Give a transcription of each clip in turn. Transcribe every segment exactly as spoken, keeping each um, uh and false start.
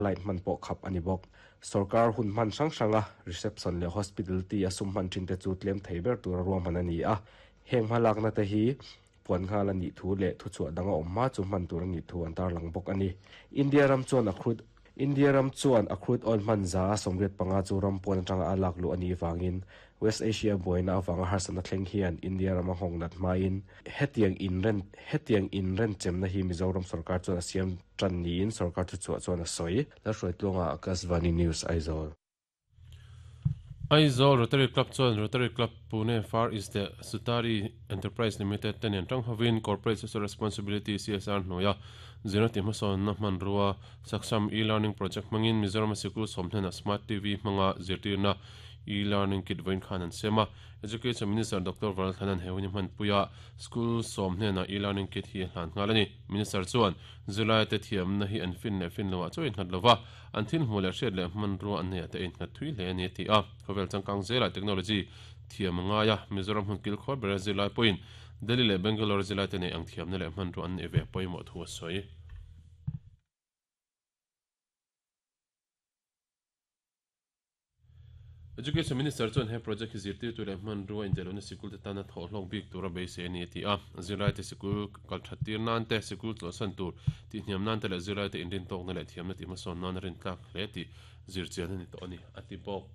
Light hman pawh khap ani bawk. Sarkar hun hman hrang hranga reception leh hospitality a sum hman thin te chu tlem thei ber tur a ruahman ani a. Heng hmalakna te hi puan nghal ani thu leh thu chhuah danga awm hma chu hman tur ani thu an tarlang bawk ani. India ram chuan a crude India ram chuan a crude oil hman za a sawmriat panga chu ram pawn atanga a lak luh ani wangin West Asia buaina awanga harsatna thleng hian India rama nghawng nat hmain hetiang inren hetiang inren chemna hi Mizoram sarkar chuan a siam tan niin sarkar thu chhuah chuan a sawi. Lalhruaitluanga Akashvani News Aizawl. Aizawl Rotary Club chuan Rotary Club Pune Far East leh Sutari Enterprise Limited te nen tang hovin Corporate Social Responsibility C S R hnuaia zirna ti hmasawnna hmanrua Saksham e-learning project hmangin Mizoram sikul sawm hnenah Smart T V hmanga zirtirna e-learning kit vawiin khan an siam a. Education Minister Doctor Varalthanan he hun hi hmanpuia school sawm hnenah e-learning kit hi a hlan nghal ani. Minister chuan zirlai te thiamna hi an fin leh fin loah chu a innghat lova, an thil hmuh leh hriat leh hmanrua an nei ah te a innghat thui hle ani a ti a. Khawvel changkang zelah technology thiam a ngai a, Mizoram hmun kil khawr bera zirlai pawhin Delhi leh Bangalore zirlai te nei ang thiamna leh hmanrua an nei ve pawimawh thu a sawi. Education Minister chuan he project hi zirtir tu leh hmanrua indelona sikul te tana thawh hlawk bik tur a beisei ani a ti a. Zirlai te sikul kal that tir nan te, sikul chawlhsan tur tih hniam nan te leh zirlai te inrin tawkna leh thiamna tih hmasawn nan a rin tlak hle tih zirchian ani tawh ani a ti bawk.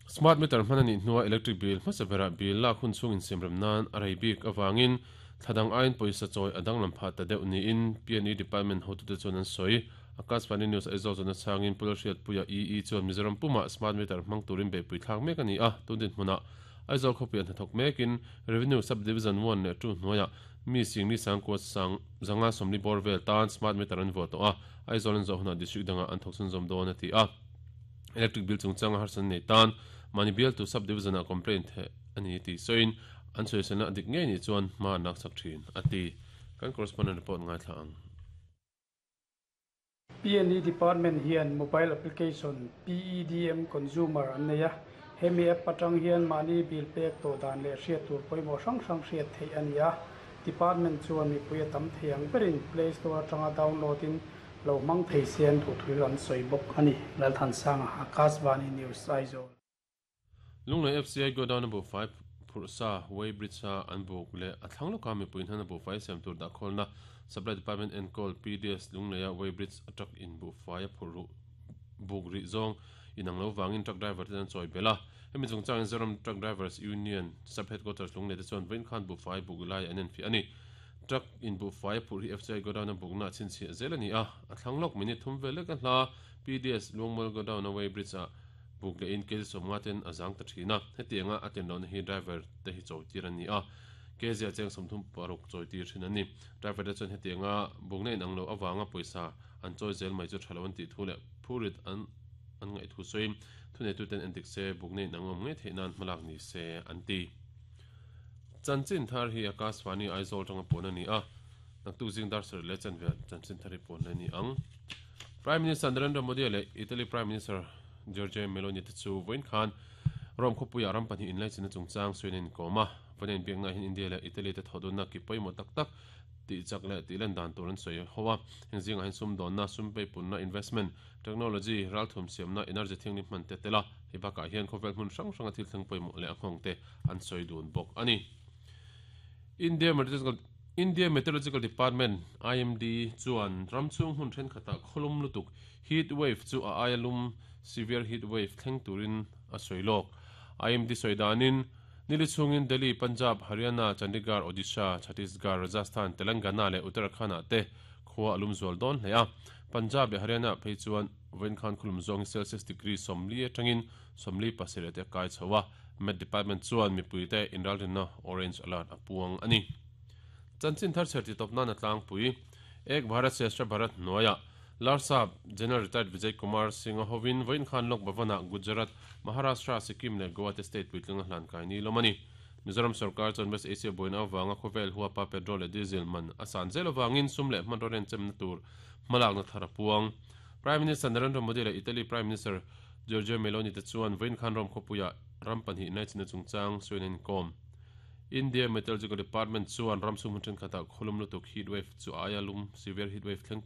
Smart meter hman anih hnua electric bill hmasa berah bill lak hun chhung insiamrem nan a rei bik awangin thladang aiin pawisa chawi a danglam phah ta deuh niin P and E department hotute chuan an sawi. Akashvani News Aizawl chuan a chhangin Pu Lalhriatpuia E E chuan Mizoram pumah smart meter hmang turin beihpui thlak mek ani a. Tun dinhmunah Aizawl khawpui an hnathawk mekin Revenue Sub Division one leh two hnuaiah mi singli sangkua sang zanga sawmli bawr vel tan smart meter an vuah tawh a, Aizawl an zawh hunah district dangah an thawk chhunzawm dawn a ti a. Electric bill chungchanga harsatna nei tan mahni bialtu sub division ah complaint theih ani tih sawiin an sawiselna a dik ngei nih chuan hma an laksak thin a ti. Kan correspondent report ngaithla ang. P and E department hian mobile application P E D M Consumer an nei a, hemi app atang hian mahni bill pek tawh dan leh hriat tur pawimawh hrang hrang hriat theih a ni a. Department chuan mipui a tam thei ang berin Play Store atanga download in lo hmang thei se an duh thu an sawi bawk a ni. Lalthansanga, Akashvani News, Aizawl. Lunglei F C I godown a buhfai phurh sa weighbridge a an buk leh a thlang lawka mipui hnan a buhfai siam tur dah khawlna Supply Department enkawl P D S Lungleia weighbridge a truck in buhfai a phurh ruh buk rih zawng inang lo vangin truck driver te an chawi belh a. Hemi chungchangin Zoram Truck Drivers Union Sub Headquarters Lunglei te chuan vawiin khan buhfai buk lai an enfiah a ni. Truck in buhfai a phurh hi F C I godown a bukna a chhinchhiah zel a ni a. A thlang lawk minute thum vel lek a hla P D S Luangmual godown a weighbridge ah buk leh in K G sawmnga ten a zang ta thin a. Hetianga a tlin lohna hi driver te hi chawi tir an ni a. K G a cheng sawmthum paruk chawi tir thin an ni. Driver te chuan hetianga bukna inang lo avanga pawisa an chawi zel mai chu tha lo an tih thu leh phurit an an ngaih thu sawiin thuneitu ten endik se bukna inang awm ngei theih nan hmalak ni se an ti. Chanchin thar hi Akashvani Aizawl tanga puan a ni a. Naktuk zing dar sarih leh chanve chanchin thar hi puan la ni ang. Prime Minister Narendra Modi leh Italy Prime Minister Giorgia Meloni te chu vawiin khan Rome khawpuiah ram pahnih inlaichinna chungchang sawiin an inkawm a. Vawiin a inbiakna hian India leh Italy te thawhdunna ki pawimawh tak tak tih chak leh tih len dan tur an sawi ho a. Heng zingah hian sumdawnna, sum peipunna, investment, technology, ralthum siamna, energy thianghlim hman te tel a. Hei bakah hian khawvel hmun hrang hranga thil thleng pawimawh leh a nghawng te an sawi dun bawk a ni. India Meteorological India Meteorological Department, I M D, chuan ram chhung hmun thenkhatah khawlum lutuk heat wave chu a aia lum severe heat wave thleng turin a sawi lawk. I M D sawi danin nili chhungin Delhi, Punjab, Haryana, Chandigarh, Odisha, Chhattisgarh, Rajasthan, Telangana leh Uttarakhand ah te khua a lum zual dawn hle a. Punjab leh Haryana phei chuan vawiin khan khawlum zawng hi Celsius degree sawmli atangin sawmli pasarih te a kai chho a. Met Department chuan mipui te inralrinna orange alert a puang a ni. Chanchin thar chher ti tawp nan a tlangpui. Ek Bharat Shrestha Bharat hnuaiah Larsap General Retired Vijay Kumar Singh a hovin vawiin khan Lok Bhavan-ah Gujarat, Maharashtra, Sikkim leh Goa te state puitling a hlan kai ni lawm a ni. Mizoram sarkar chuan West Asia buaina avanga khawvel huapa petrol leh diesel man a san zel avangin sum leh hmanraw renchem na tur hmalakna thar a puang. Prime Minister Narendra Modi leh Italy Prime Minister Giorgia Meloni te chuan vawiin khan Rome khawpuiah ram pahnih inlaichinna chungchang sawiin an inkawm. India Meteorological Department chuan ramchhung hmun thenkhatah khawlum lutuk heat wave chu aia lum severe heat wave thleng